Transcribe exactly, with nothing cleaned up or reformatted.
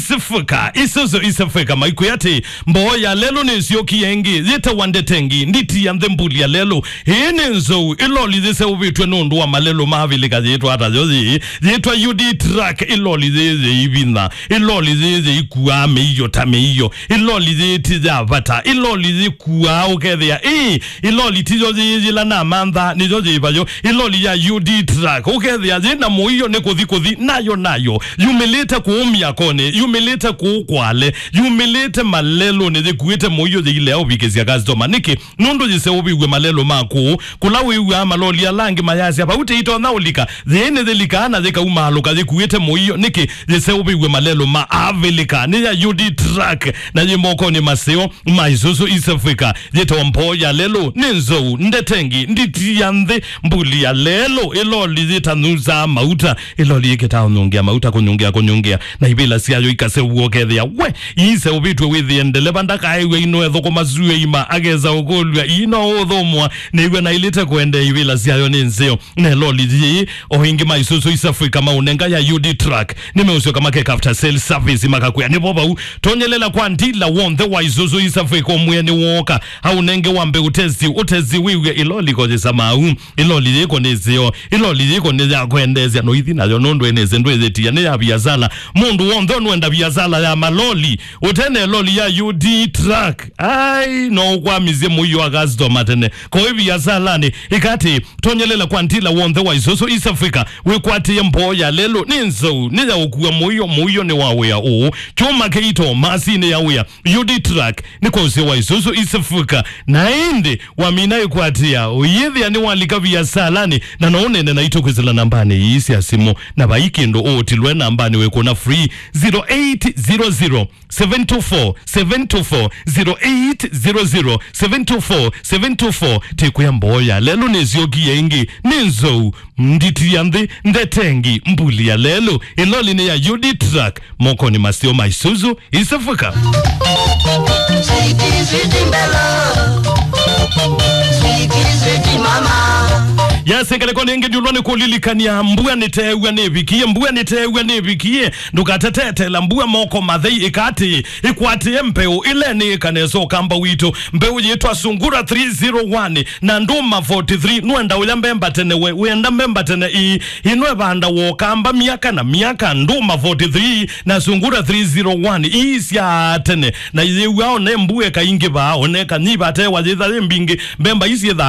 East Africa, Isuzu East Africa, maikwĩa atĩ mboo ya lelũ nĩsyokie ĩngĩ, yĩtawa Ndetengi, nditi ya nthĩ mbuli ya lelũ. Ĩĩ nĩ nzou, ĩloli yĩseũvĩtw'e nũndũ wa malelũ ma Avilika yĩtwa ata yo yĩĩ, yĩtwa U D truck, ĩloli yĩĩ yĩivinya, ĩloli yĩĩ yĩikuaa mĩio ta mĩio, ĩloli yĩĩ ti ya vata, ĩloli yĩkuaa ũkethĩa, ĩĩ, ĩloli tiyo yĩĩ yĩla namantha, nĩyo yĩvayo, ĩloli ya U D truck, ũkethĩa yĩ na mũio nĩ kũthi kũthi, nayo nayo, yumĩlĩte kũu myakonĩ, yumĩlĩte kũu Kwale, yumĩlĩte malelũnĩ, yĩkuĩte mũio yĩilea ũvikĩsya customer. Nĩkĩ? Nũndũ yĩseũvĩw'e malelũ ma kũũ, kũla wĩw'aa maloli ala angĩ mayasya, "Vau tĩitonya ũlika." Yĩĩ nĩyĩlikaa na yĩkaumaalũka yĩkuĩte mũio. Nĩkĩ? Yĩseũvĩw'e malelũ ma Avilika. Nĩ ya U D truck, na yĩ mokonĩ maseo ma Isuzu East Africa. Yĩtawa mboo ya lelũ, nĩ nzou, Ndetengi, nditi ya nthĩ, mbuli ya lelũ, ĩloli yĩtanyusaa mauta, ĩloli yĩkĩtaa ũnyungĩa mauta, kũnyungĩa, kũnyungĩa, na ivĩla syayo ikaseũvw'a ũkethĩa we iseũvĩtw'e wĩthĩe ndeleva ndakaew'a ino ethũkũma syũa ima, akesa ũkũlw'a ii no ũthũmũa, nĩw'a naĩlĩte kũendea ivĩla syayo nĩ nzeo. Na ĩloli yĩĩ, o ĩngĩ ma Isuzu East Africa maũnenga ya U D truck, nĩmeũsyoka makeka after sale service, makakwĩa nĩvo vau. Tonyelela kwa ndila w'onthe wa Isuzu East Africa ũmwĩe nĩwooka, aũnenge wambe ũtesti, ũtesti wĩw'e ĩloli ko yĩsa mau. Ĩloli yĩko nĩ ĩseo, ĩloli yĩko nĩ ya kwendeesya noithi nayo nũndũ ĩnĩsĩ ndwĩyĩtia nĩ ya viasala. Mũndũ w'onthe ũnwenda viasala ya maloli, ũtene ĩloli ya U D truck, ai, no ũkwamisye mũio wa customer tene. Koĩ viasalanĩ, ĩkatĩ, tonyelela kwa ndila w'onthe wa Isuzu East Africa, wĩkwatĩe mboo ya lelũ, nĩ nzou, nĩ ya ũkua mũio, mũio nĩ wa wĩa ũũ. Kyũma kĩito, masinĩ ya wĩa, U D truck, nĩ kwa ũseo wa Isuzu East Africa. Na ĩndĩ, wamina ĩkwatĩa, ũyĩthĩa nĩwalika viasalanĩ, na no ũnene naitũ kwĩsĩla nambanĩ ii sya simũ. Na vai kĩndũ ũũtilwe nambanĩ wĩkũna free, zero eight zero zero, seven two four, seven two four, zero eight zero zero, seven two four, seven two four. Tĩkwĩa mboo ya lelũ nĩsyokie ĩngĩ, nĩ nzou, nditi ya nthĩ, Ndetengi, mbuli ya lelũ, ĩloli nĩ ya U D truck, mokonĩ maseo ma Isuzu East Africa. Sweetie, sweetie, mbelo. Sweetie, sweetie, mama. Yes, ngalĩko nĩngĩ ndiũlwa nĩ kũlilikania, mbua nĩteew'a nĩvikie, mbua nĩteew'a nĩvikie, ndũkatetetela mbua moko mathei, ĩkatĩ, ĩkwatĩe mbeũ ĩla nĩ ĩkanesa ũkamba witũ, mbeũ yĩtwa Sungura three zero one na Nduma forty-three. Nwenda ũya mbemba tene we, wenda mbemba tene ii, ino ĩvanda wokamba myaka na myaka, Nduma forty-three na Sungura three zero one, ii sya tene, na yĩw'a one mbue kaingĩ vaa, one kanyiva tewa yĩtha yĩ mbingĩ, mbemba isi